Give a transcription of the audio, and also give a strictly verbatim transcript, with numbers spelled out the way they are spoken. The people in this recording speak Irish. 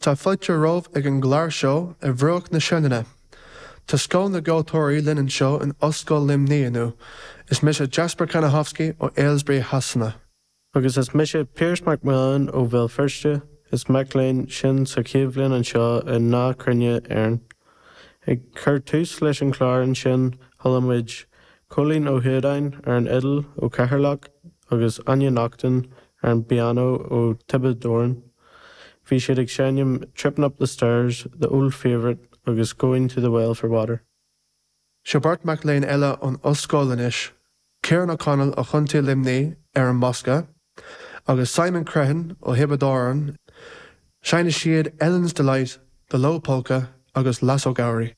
Tá fáilte romhaibh ag an gclár seo ar bhruach na Sionainne. Tá scoth na gceoltóirí linn anseo in Ollscoil Luimnigh inniu. Is mise Jasper Kanahovsky ó Aylesbury Shasana. Agus is mise Pearse Mac Millan ó Bhéal Feirste is mac léinn sinn sa chéad bhliain anseo i nDá Chruinne Éireann. Ag cur tús leis an chlár ansin chuala muid Cóilín Ó hUadáin ar an fhidil ó Cheatharlach agus Anya Naughton ar an bpianó ó Tiobraid Árann. Bhí siad ag seinm Tripping Up the Stairs, The Old Favourite agus Going to the Well for Water. Seo beirt mac léinn eile ón ollscoil anois, Ciarán O'Connell ó Chontae Luimnigh ar an mbosca, agus Simon Crehan ó Thiobraid Árann, seinnfidh siad Ellen's Delight, The Low Polka agus Lass O'Gowrie.